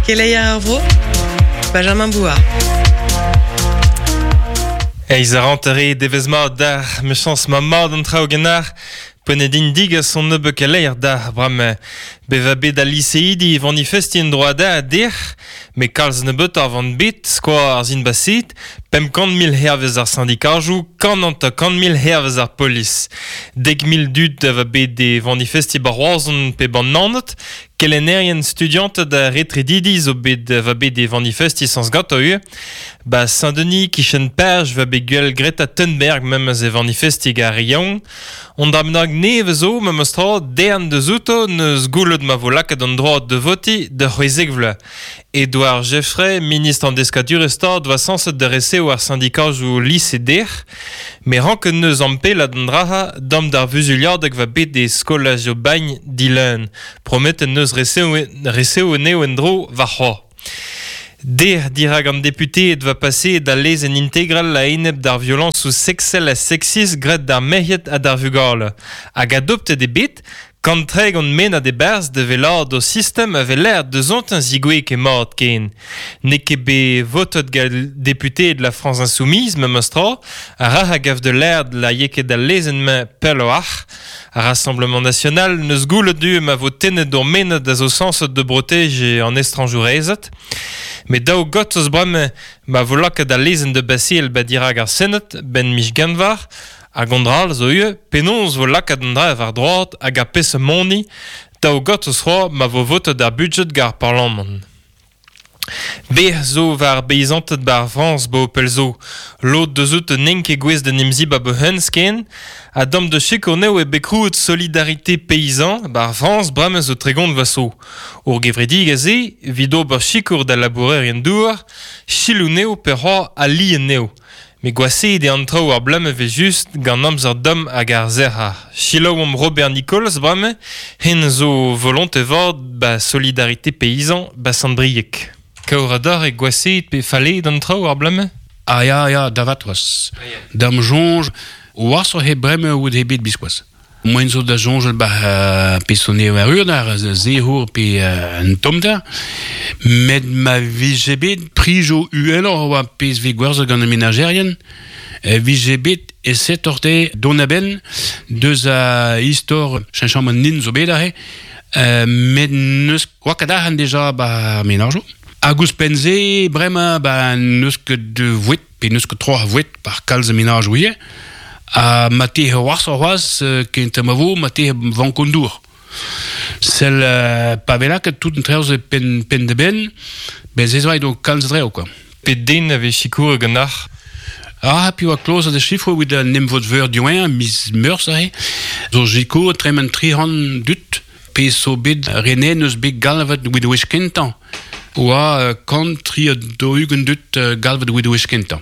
Keleier ar vro, Benjamin Bouard. Eiz a rantere devezh mat d'ar mechañs ma mat an traoù ganeoc'h. Poent eo din degas an nebeud keleier d'ar bremañ. Bevañ bet al liseidi e vanifestiñ en droad a dec'h, met kalz nebeutoc'h van bet, skoaz ar sin-baset, 500 000 hervez ar sindikajoù, 150 000 hervez ar polis. 10 000 dud a va bet e vanifestiñ ba Roazhon pe ban Naoned, kelennerien studianted ha retredidi zo bet va bet e vanifestiñ sañs ganto ivez. Ba Saint-Denis, kichen Paj, va bet gwell Greta Thunberg memes e vanifestiñ ar re yaouank. On dra bennak nevez zo memes tra, dern deus outo n'eus goulet ma vo lakaet an droad da votiñ da 16 vloaz. Edouard Geffray, ministr an deskadurezh stad, oa sañset da resev ar sindikajoù lise dec'h, met ranket neus ampellat an dra-ha dam d'ar vuzuliadeg va bet e skolaj Aubagne dileun. Prometet neus resev resev anezho en-dro warc'hoazh. Dec'h dirak an deputeed va paseet al lezenn integral a-enep d'ar violañsoù seksel ha seksist graet d'ar merc'hed ha d'ar vugale. Hag adoptet eo bet 130 mennad e-barzh da wellaat o sistem a weler deus zigouez ket mat ken. N'eo ket bet votet gant deputeed La France Insoumise memes tra, a ra a gav da lâret la eo ket al lezenn-mañ pelloc'h. Ar Rassemblement National n'eus goulet du ma vo tennet ur mennad a zo sañset da brotejiñ an estrañjourezed. Met daou got eus bremañ ma vo lakaet al lezenn da baseal ba dirak ar Sened 'benn miz Genver hag an dra all zo ivez penaos vo lakaet an dra war droad hag ar peseurt moni daou got eus c'hoazh ma vo votet ar budjed gant ar parlamant. Bec'h zo war beizanted 'bar Frañs 'bo pell zo. Lod deus out n'int ket gouest d'en em zibab o-hent ken. Ha dam da sikour anezho eo bet krouet Solidarité Paysan 'bar Frañs bremañ zo 30 vloaz zo. Ur gevredigezh-se evit ober sikour da labourerien-douar, selaou anezho pe c'hoazh ali anezho. Met gwashaet eo an traoù ar bloaz evel-just gant amzer domm hag ar sec'hañ. Selaouomp Robert Nicolas bremañ, hen zo volonte vat 'ba Solidarité Paysan 'ba Sant-Brieg. Kaour adarre gwashaet pe fallet an traoù ar bloaz-mañ? Ah ya, ya, da vat c'hoazh. Da'm soñj, washoc'h eo bremañ out eo bet biskoazh. Moaien zo da soñjal 'ba peseurt eo erru ar sec'hour pe an tommder. Met ma vije bet prijoù uheloc'h oa pezh 'vez gwerzhet gant ar menajerien, e vije bet aesetoc'h dezhe dont a-benn deus a istor cheñchamant nin zo bet aze. Met n'eus oa ket arc'hant deja 'ba ar menajoù. Hag ouzhpenn-se bremañ ba n'eus ket voued pe n'eus ket tro a voued par kalz a menajoù ivez. Ha ma te c'hoarzh c'hoazh kentañ ma vo, ma te vank an dour. Sell pa vez lakaet tout an traoù-se penn, penn da benn, ben se zo aet kalz a draoù quoi. Pet den a vez sikouret ganeoc'h? Ah, piv a klozet e sifroù evit an emvod-veur diwezhañ, miz Meurzh aze. Zo sikour tremen 300 dud pezh zo bet renet n'eus bet galvet evit wech kentañ. Oa 143 dud galvet evit wech kentañ.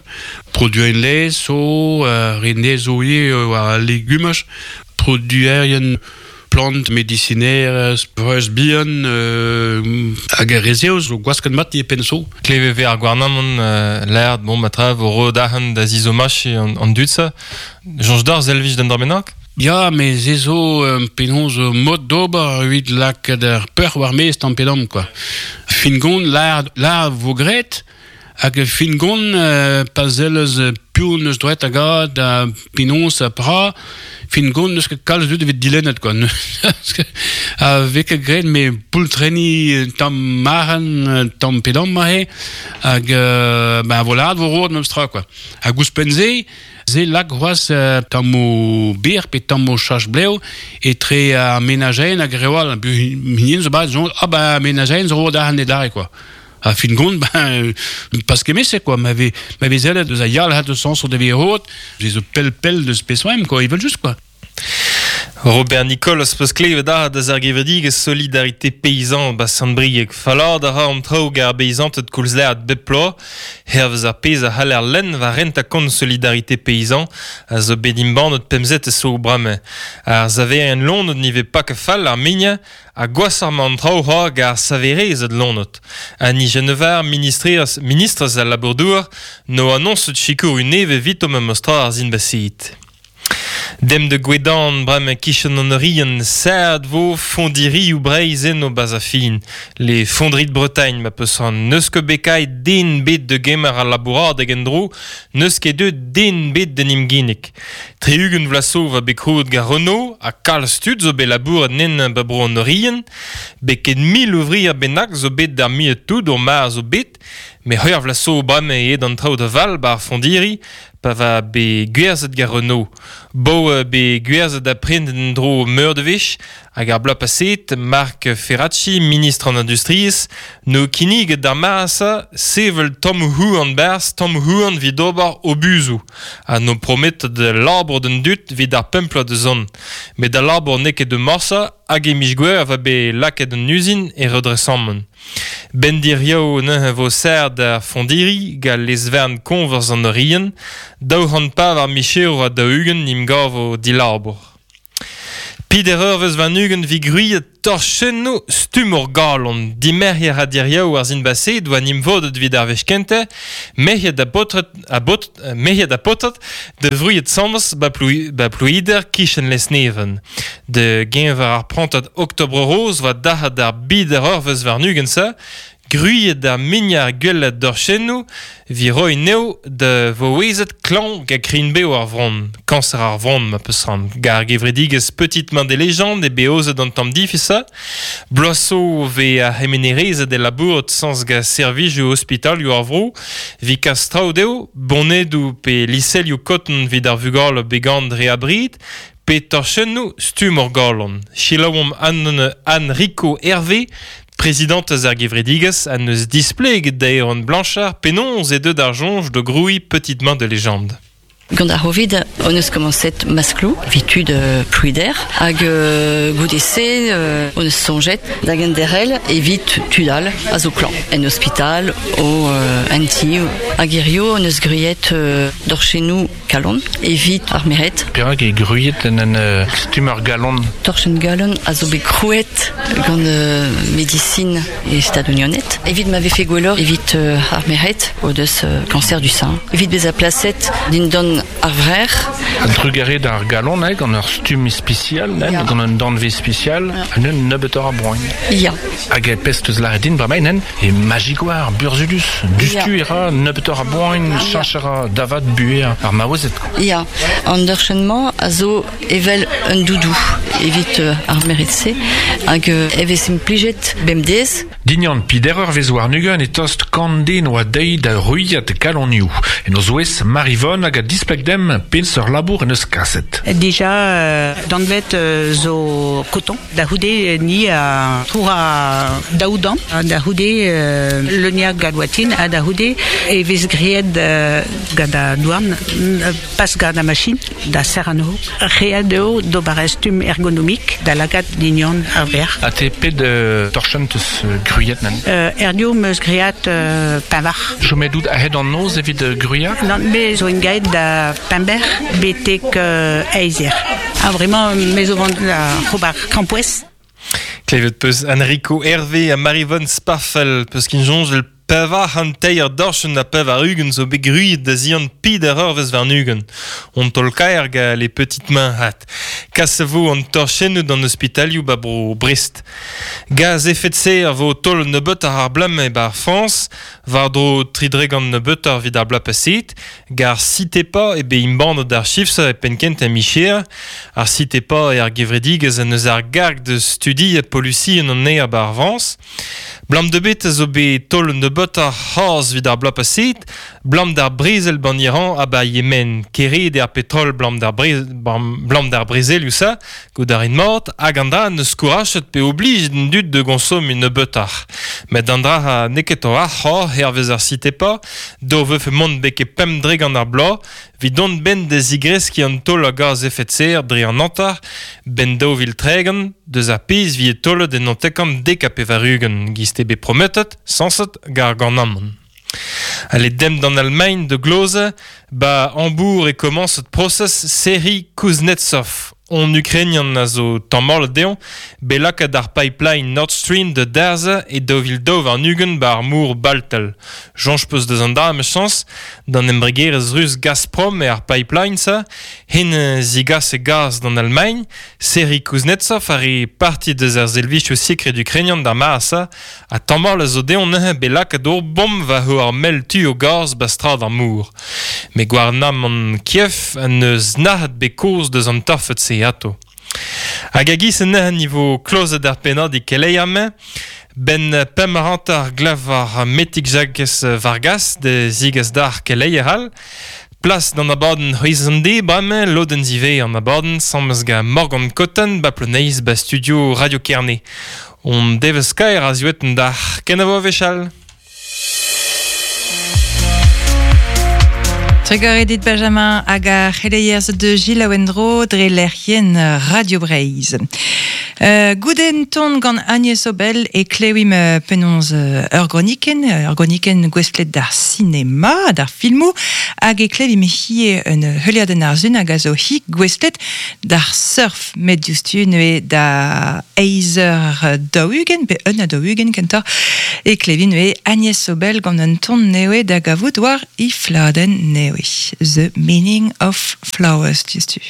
Produerien laezh zo, re zo ivez war al legumaj, produerien plant medisinerezh, breuz bihan hag ar re-se zo gwasket mat e penn zo. Klevet vez ar gouarnamant lâret bon ma tra vo roet arc'hant da zizomachiñ an dud-se. Soñj deoc'h selvij d'un dra bennak? Ya, met se zo penaos mod d'ober evit lakaat ar peoc'h war-maez tamm pe damm quoi. Fin gont lâr vo graet hag fin gont pa sell eus piv n'eus droet da gad ha penaos ha pra fin gont n'eus ket kalz dud evit dilennet quoi. A vez ket graet met poultrenniñ tamm marc'hant tamm pe damm aze hag ben voilà vo roet memes tra quoi. Hag ouzhpenn-se Se lak c'hoazh tammoù bir pe tammoù chach-blev etre ar menajerien hag reoù all. Hinienn zo bat soñj, ah ben menajerien zo roet arc'hant adarre quoi. Ha fin gont, ben pas kement-se quoi. Ma vez ma vez sellet deus a yalc'had eus sañs o devez roet, se zo pell-pell deus peseurt quoi, evel-just quoi. Robert Nicole az peus klevet aze deus ar gevredigezh Solidarité Paysan 'ba Sant-Brieg. Fallaat a ra an traoù gant ar beizanted koulz lâret bep bloaz. Hervez ar pezh a c'haller lenn war rentañ-kont Solidarité Paysan a zo bet embannet pemzetez zo bremañ. Ar saverien loened ne vez pas ket fall ar mignañ ha gwashoc'h emañ an traoù c'hoazh gant ar saverezed loened. Annie Genevard, ministrez al labour-douar, 'no anoñset sikour nevez evito memes tra ar sin-baseet. Dem de Gwedan brem kichen an Orient, sad vo fondirioù Breizh eno baz a fin. Les fonderies de Bretagne ma peus an neus ket bekai den bet de gemer al labouradeg en-dro, neus ket deuet den bet d'en imginik. Tri-ugent vloaz zo va bet krouet gant Renault, ha kalz tud zo bet labouret nen ba bro an Orient, bet ket mil ouvrier bennak zo bet d'ar miet tout ur mar zo bet, met c'hwec'h vloaz zo bremañ eo an traoù da val ba ar fondiri, pa va bet gwerzhet gant Renault. Bo bet gwerzhet da prent en-dro meur de wech, hag ar bloaz paset, Marc Ferracci, ministr an industriezh, no kinniget d'ar mare-se sevel tammoù houarn barzh, tammoù houarn evit ober obuzoù, ha no prometet labour d'an dud evit ar pemp bloaz da zont. Met al labour n'eo ket deus morse, hag e miz Gouere va bet lakaet an uzin e redresamant. Ben diriaou neuze vo serr d'ar fondiri gant lez-vern koñvers an Orient, 204 micherour ha 40 n'im gavo dilabour. Peder eurvezh warn-ugent 'vit gwriet torchennoù stumm ur galon. Dimerc'her ha diriaou ar sin baset oa 'n em vodet evit ar wech kentañ, merc'hed ha paotred ha baotred merc'hed ha paotred da wriet sañs ba ba Plouider kichen Lesneven. Da geñver ar prantad Oktobr Rose oa dac'hat ar bider eurvezh warn-ugent-se, Gwriet ar muiañ gwellañ dorchennoù 'vit roiñ anezho da vaouezed klañv gant krign-bev ar vronn, kañser ar vronn ma peus c'hoant. Gant ar gevredigezh Petite Main des Légendes eo bet aozet an tamm difis-se. Bloaz zo 'vez ar c'hemenerezed é labourat sañs gant servijoù ospitalioù ar vro 'vit kas traoù dezho, bonedoù pe liselioù koton 'vit ar vugale bet ganet dre abred, pe torchennoù stumm ur galon. Selaouomp Anne, Anne Rico Hervé, prezidantez ar gevredigezh, ha neus displeget da Erwan Blanchard penaos eo deuet ar soñj da grouiñ Petite Main de Légende. Gant ar C'hovid hon eus komañset maskloù evit tud Plouider hag goude-se hon eus soñjet da genderc'hel evit tud all a zo klañv en ospital o en ti hag hirio hon eus gwriet dorchennoù kalon evit ar merc'hed. Perak eo gwriet en un stumm ur galon? Torchenn galon a zo bet krouet gant medisin e Stadoù-Unanet evit ma vefe gwelloc'h evit ar merc'hed o deus cancer du sein. Evit bezañ plaset dindan ar vrec'h. A-drugarez d'ar galon, eh, gant ur stumm ispisial, eh, gant un danvez spesial, un nebeutoc'h a boan. Ya. Hag e pezh teus lâret din bremañ, nen, e magigoar burzhudus. Dustu e ra nebeutoc'h a boan, cheñch a ra da vat buhez ar maouezed. Ya, an dorchenn-mañ a zo evel un doudou evit ar merc'hed-se hag e vez implijet bemdez. Dignan pider eurvezh warn-ugent e tost kant den oa dezhi da ruilhat kalonioù. En o zouez Marivonne hag a displeg demp peseurt labour en deus kaset. Dija danvet zo koton. Da c'houde ni a troura daou damm, da c'houde leuniañ gant ha da c'houde e vez graet gant an douarn, pas gant ar machin, da serr anezho. Ret eo d'ober ur stumm ergonomik da lakaat dignon ar verc'h. Ha te pet torchenn teus gwriet nen? Erdio 'm eus graet pevar. Chomet out a-hed an noz evit gwriañ? Nann, me zo engaet da Pember betek eizh eur. Ah, vraiment, me zo vont da ober krampouezh. Klevet peus Enrico Hervé ha Marivonne Sparfel peus kin soñjel pevar c'hant teir dorchenn ha 80 zo bet gwriet da zihan peder eurvezh warn-ugent. On taol-kaer gant les petites mains hat. Kas a vo an torchennoù d'an ospitalioù ba bro Brest. Gaz efed-se a vo taol nebeut ar ar e bar Frañs, war-dro tri dregont nebeutoc'h evit ar bloaz paseet, Gar Citepa eo bet embannet ar chifs e penn-kentañ micher. Ar Citepa eo ar gevredigezh en deus ar garg da studiañ polusien an aer 'ba ar Frañs. Blam da bet a zo bet taol nebeutoc'h c'hoazh evit ar bloaz paseet, blam d'ar brezel 'ban Iran ha 'ba Yemen. Keret eo ar petrol blam d'ar blam d'ar brezelioù-se, goût a rin mat, hag an dra n'eus kourachet pe oblijet an dud da gonsomiñ nebeutoc'h. Met an dra n'eo ket a-walc'h hervez ar Citepa, Dav vefe mont betek 5% ar bloaz evit dont 'benn da zigreskiñ an taol a gaz efed-serr dre an hanter 'benn 2030 deus ar pezh 'vije taolet en 1990 giz eo bet prometet, sañset, gant ar gouarnamant. Ale demp d'an Almagn da glozañ, 'ba Hambourg e komañset prosez Serhiy Kuznetsov. On Ukrainian a zo tammall dezhañ, bet lakaet ar pipeline Nord Stream da darzhañ e 2002 war 20 ba ar mor Baltel. Soñj 'peus deus an dra emichañs, d'an embregerezh rus Gazprom eo ar pipeline-se, hen zigase gaz d'an Almagn, Serhiy Kuznetsov a re parti deus ar servijoù sekred ukrainian d'ar mare-se, ha tamall a zo dezhañ neuze bet lakaet ur bomm war ar mell tu o gaz ba strad ar mor. Met gouarnamant Kiev en deus nac'het bet kaoz deus an torfed-se atao. Hag a-giz neuze e vo klozet ar pennadig keleier-mañ, 'benn 5h50 glav ar Metig Jakez Vargas da zigas d'ar keleier all. Plas d'an abadenn C'hwezh an deiz bremañ, lodenn ziwezhañ an abadenn, sammez gant Morgan Cotten ba Ploneiz ba studio Radio Kerne. On devezh kaer a ziwet d'ar kenavo wechall. Trugarez dit Benjamin hag ar c'heleier zo deus Gilles en-dro dre lec'hienn Radio Breizh. Goude un ton gant Agnès Obel e klevimp penaos ur gronikenn, ur gronikenn gouestlet d'ar sinema, d'ar filmoù, hag e klevimp hiziv un heuliadenn arzun hag a zo hi gouestlet d'ar surf, met diouzhtu neuze da eizh eur 40 pe un ha 40 kentoc'h e klevin neuze Agnès Obel gant un ton nevez da gavout war he fladenn nevez, The Meaning of Flowers diouzhtu.